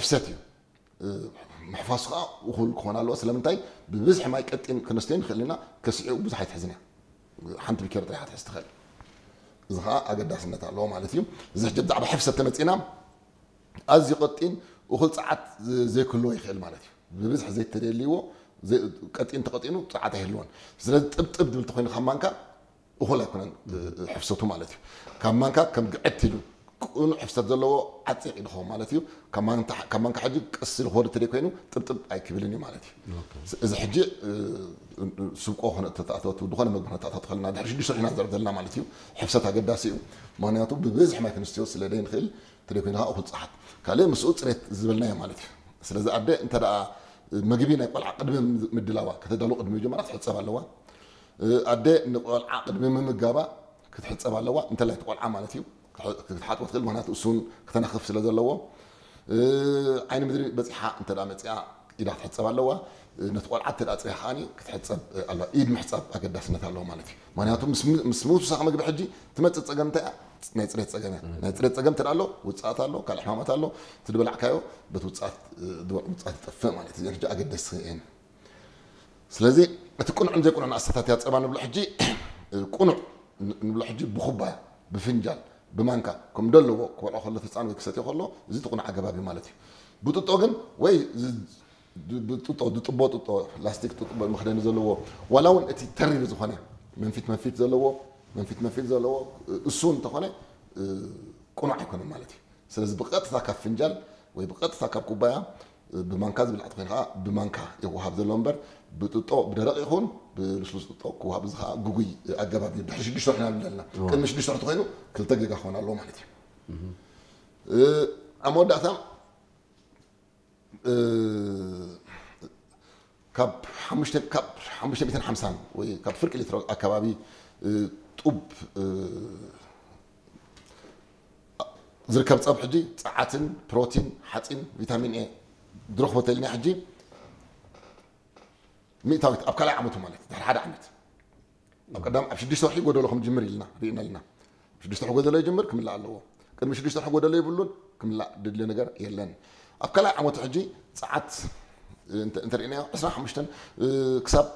ሰት እዩ። ምሕፋሱ ከዓ እኹል ክኾን ኣለዎ። ስለምንታይ? ብብዝሒ ማይ ቀጢን ክነስተዮ ንኽእል ኢና። ከስዕኡ ብዙሕ ኣይትሕዝን እያ። ሓንቲ ቢኬሪ ጥራይ ትሕዝ ትኽእል። እዚ ከዓ ኣገዳስነት ኣለዎ ማለት እዩ። እዚ ሕጂ ብዛዕባ ሕፍሰት ተመፂና፣ ኣዝዩ ቀጢን እኹል ፀዓት ዘይክህልዎ ይኽእል ማለት እዩ። ብብዝሒ ዘይተደልይዎ፣ ቀጢን ተቐጢኑ ፀዓት ኣይህልዎን። ስለዚ ጥብጥብ ዝብል ተኮይኑ ካብ ማንካ እኹል ኣይኮነን ሕፍሰቱ ማለት እዩ። ካብ ማንካ ከም ግዕት ኢሉ ቅኑዕ ሕፍሰት ዘለዎ ዓፂቕ ኢሉ ክኸውን ማለት እዩ። ካብ ማንካ ሕጂ ቀስ ኢሉ ክወርድ ተደይ ኮይኑ ጥብጥብ ኣይክብልን እዩ ማለት እዩ። እዚ ሕጂ ስብቆ ክነተኣታቱ ዝኾነ መግቢ ክነተኣታቱ ከለና ድሕሪ ሽዱሽተ ወርሒ ኢና ንዛረብ ዘለና ማለት እዩ። ሕፍሰት ኣገዳሲ እዩ። ምክንያቱ ብብዝሒ ማይ ክንስትዮ ስለ ዘይንኽእል ተደይ ኮይኑ ከዓ እኹል ፀዓት ካልእ ምስኡ ፅሬት ዝበልናዮ ማለት እዩ። ስለዚ ኣደ እንተ ደኣ መግቢ ናይ ቆልዓ ቅድሚ ምድላዋ ከተዳሉ ቅድሚ ምጅማራ ክትሕፀብ ኣለዋ። ኣደ ንቆልዓ ቅድሚ ምምጋባ ክትሕፀብ ኣለዋ። እንተላይ እቲ ቆልዓ ማለት እዩ ክትሓጥቦ ትኽእል፣ ምክንያቱ እሱን ክተናኽፍ ስለ ዘለዎ። ዓይኒ ምድሪ በፂሓ እንተ ደኣ መፂኣ ኢዳ ክትሕፀብ ኣለዋ። ነቲ ቆልዓ እንተ ደኣ ፅሪያ ከዓኒ ክትሕፀብ ኣለዋ። ኢድ ምሕፃብ ኣገዳስነት ኣለዎ ማለት እዩ። ምክንያቱ ምስ ምስ ምውሳኽ መግቢ ሕጂ ትመፅእ ፀገም እንታይ እያ? ናይ ፅሬት ፀገም እያ። ናይ ፅሬት ፀገም እንተ ደኣ ኣሎ ውፅኣት ኣሎ፣ ካልእ ሕማማት ኣሎ። እቲ ዝበላዕካዮ በቲ ውፅኣት ውፅኣት ይጠፍእ ማለት እዩ። እዚኣን ሕጂ ኣገደስቲ እየን። ስለዚ እቲ ቅኑዕን ዘይቅኑዕን ኣሰታትያ ጸባ ንብሎ ሕጂ ቅኑዕ ንብሎ ሕጂ ብኩባያ ብፍንጃል ብማንካ ከም ደለዎ ክበልዖ ከሎ እቲ ህፃን ወይ ክሰትዮ ከሎ እዚ እቲ ቅኑዕ ኣገባብ እዩ ማለት እዩ። ብጥጦ ግን ወይ ብጥጦ ዝጥቦ ጥጦ ላስቲክ ጥጥቦ መኽደኒ ዘለዎ ዋላ እውን እቲ ተሪር ዝኾነ መንፊት መንፊት ዘለዎ መንፊት መንፊት ዘለዎ እሱ እንተኾነ ቅኑዕ ኣይኮነን ማለት እዩ። ስለዚ ብቐጥታ ካብ ፍንጃል ወይ ብቐጥታ ካብ ኩባያ ብማንካ ዝብላዕ ተኮይኑ ከዓ ብማንካ ይወሃብ ዘሎ እምበር ብጥጦ ብደረቕ ይኹን ብልስሉስ ጥጦ ክወሃብ እዚ ከዓ ግጉይ ኣገባብ እዩ። ድሕሪ ሽዱሽተ ወርሒ ኢና ንብል ዘለና። ቅድሚ ሽዱሽተ ወርሒ ተኮይኑ ክልተ ጌጋ ክኾን ኣለዎ ማለት እዩ። ኣብ መወዳእታ ካብ ሓሙሽተ ካብ ሓሙሽተ ሚእትን ሓምሳን ወይ ካብ ፍርቂ ሊትሮ ኣከባቢ ጡብ ዝርከብ ጸብ ሕጂ ጸዓትን ፕሮቲን ሓጺን ቪታሚን ኤ ዝረኽቦ ተልና ሕጂ ሚእታዊት ኣብ ካልኣይ ዓመቱ ማለት ድሕሪ ሓደ ዓመት ኣብ ቀዳም ኣብ ሽዱሽተ ወርሒ ጎደሎ ከም ጅምር ኢልና ርኢና ኣለና። ሽዱሽተ ወርሒ ጎደሎ ይጅምር ክምላእ ኣለዎ። ቅድሚ ሽዱሽተ ወርሒ ጎደሎ የብሉን ክምላእ ድልዮ ነገር የለን። ኣብ ካልኣይ ዓመቱ ሕጂ ጸዓት እንተ- እንተርኢናዮ ዕስራን ሓሙሽተን ክሳብ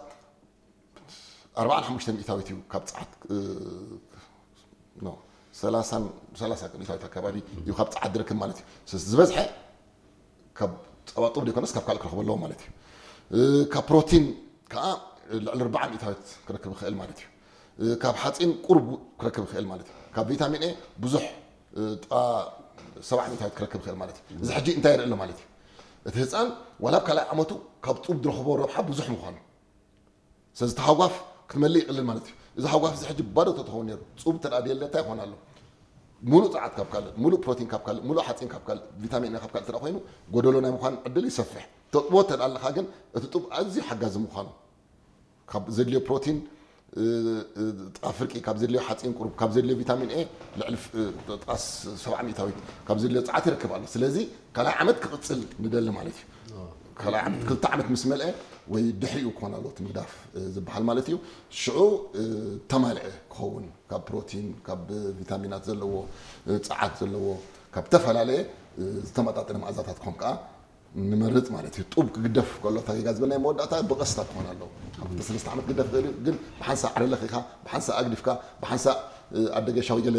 ኣርባዓን ሓሙሽተን ሚእታዊት እዩ ካብ ጸዓት ኖ ሰላሳን ሰላሳ ሚእታዊት ኣካባቢ እዩ ካብ ጸዓት ዝረክብ ማለት እዩ። ስለዚ ዝበዝሐ ካብ ጸባ ጡብ ዘይኮነስ ካብ ካልእ ክረኽቦ ኣለዎ ማለት እዩ። ካብ ፕሮቲን ከዓ ልዕሊ ኣርባዓ ሚእታዊት ክረክብ ይኽእል ማለት እዩ። ካብ ሓፂን ቁሩብ ክረክብ ይኽእል ማለት እዩ። ካብ ቪታሚን ኤ ብዙሕ ጥቓ ሰብዓ ሚእታዊት ክረክብ ይኽእል ማለት እዩ። እዚ ሕጂ እንታይ የርኢ ኣሎ ማለት እዩ? እቲ ህፃን ዋላ ኣብ ካልኣይ ዓመቱ ካብ ጡብ ዝረኽቦ ረብሓ ብዙሕ ምዃኑ ስለዚ እቲ ሃጓፍ ክትመልእ ይቕልል ማለት እዩ። እዚ ሃጓፍ እዚ ሕጂ ባዶ ተተኸውን ነይሩ ፁብ ተዳ ድየለ እንታይ ይኾን ኣሎ? ሙሉእ ፀዓት ካብ ካልእ፣ ሙሉእ ፕሮቲን ካብ ካልእ፣ ሙሉእ ሓፂን ካብ ካልእ፣ ቪታሚን ካብ ካልእ ተዳ ኮይኑ ጎደሎ ናይ ምዃን ዕድል ይሰፍሕ። ተጥቦ ተዳ ኣለካ ግን እቲ ጡብ ኣዝዩ ሓጋዚ ምዃኑ ካብ ዘድልዮ ፕሮቲን ጥቓ ፍርቂ ካብ ዘድልዮ ሓፂን ቁሩብ ካብ ዘድልዮ ቪታሚን ኤ ልዕሊ ጥቓስ ሰብዓ ሚእታዊት ካብ ዘድልዮ ፀዓት ይረክብ ኣሎ። ስለዚ ካልኣይ ዓመት ክቕፅል ንደሊ ማለት እዩ። ካልኣይ ዓመት ክልተ ዓመት ምስ መልአ ወይ ድሕሪኡ ክኾን ኣለዎ እቲ ምግዳፍ ዝበሃል ማለት እዩ። ሽዑ ተማልዐ ክኸውን ካብ ፕሮቲን ካብ ቪታሚናት ዘለዎ ፀዓት ዘለዎ ካብ ዝተፈላለየ ዝተመጣጠነ መኣዛታት ክኾን ከዓ ንመርፅ ማለት እዩ። ጡብ ክግደፍ ከሎ እታ ጌጋ ዝበልናይ መወዳእታ ብቐስታ ክኾን ኣለዎ። ኣብ ክልተ ሰለስተ ዓመት ክግደፍ ይኽእል እዩ፣ ግን ብሓንሳእ ዓረለኺኻ ብሓንሳእ ኣግዲፍካ ብሓንሳእ ኣደገሻዊ ገለ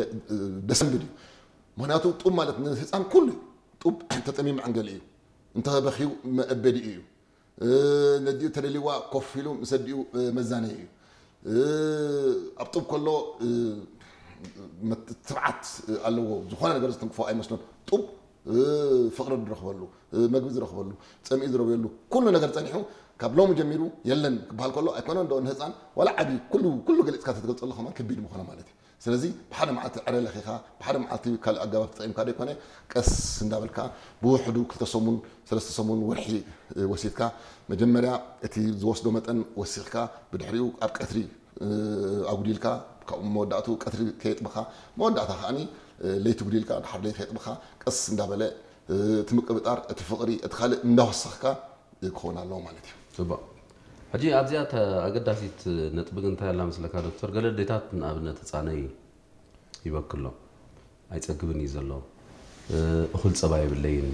ደሰንብድ እዩ። ምክንያቱ ጡብ ማለት ንህፃን ኩሉ እዩ። ጡብ ተጠሚሙ መዐንገሊ እዩ። እንተበኺዩ መእበዲኡ እዩ። ነዲኡ ተደልይዋ ኮፍ ኢሉ ምስ ኣዲኡ መዛነዪ እዩ። ኣብ ጡብ ከሎ ትብዓት ኣለዎ። ዝኾነ ነገር ዝትንክፎ ኣይመስሎን። ጡብ ፍቕሪ ዝረኽበሉ፣ መግቢ ዝረኽበሉ፣ ፀሚኡ ዝረውየሉ ኩሉ ነገር ፀኒሑ ካብ ሎሚ ጀሚሩ የለን ክበሃል ከሎ ኣይኮነን ዶ ንህፃን ዋላ ዓብዪ ኩሉ ኩሉ ገሊፅካ ተትገልፀሉ ከማን ከቢድ ምኾነ ማለት እዩ። ስለዚ ብሓደ መዓልቲ ዕረ ለኺኻ ብሓደ መዓልቲ ካልእ ኣገባብ ተጠቂምካ ዘይኮነ ቀስ እንዳበልካ ብውሕዱ ክልተ ሰሙን ሰለስተ ሰሙን ወርሒ ወሲድካ መጀመርያ እቲ ዝወስዶ መጠን ወሲኽካ ብድሕሪኡ ኣብ ቀትሪ ኣጉዲልካ ካብኡ መወዳእቱ ቀትሪ ከየጥበኻ መወዳእታ ከዓኒ ለይቲ ጉዲልካ ድሓር ለይቲ ከየጥበኻ ቀስ እንዳበለ እቲ ምቅብጣር እቲ ፍቕሪ እቲ ካልእ እንዳወሰኽካ ክኸውን ኣለዎ ማለት እዩ። ፅቡቕ። ሕጂ ኣብዚኣ እተ ኣገዳሲት ነጥቢ ግን እንታይ ኣላ መስለካ ዶክተር? ገለ ኣዴታት ንኣብነት ህፃነይ ይበክሎ ኣይፀግብን እዩ ዘሎ፣ እኹል ፀባ የብለይን፣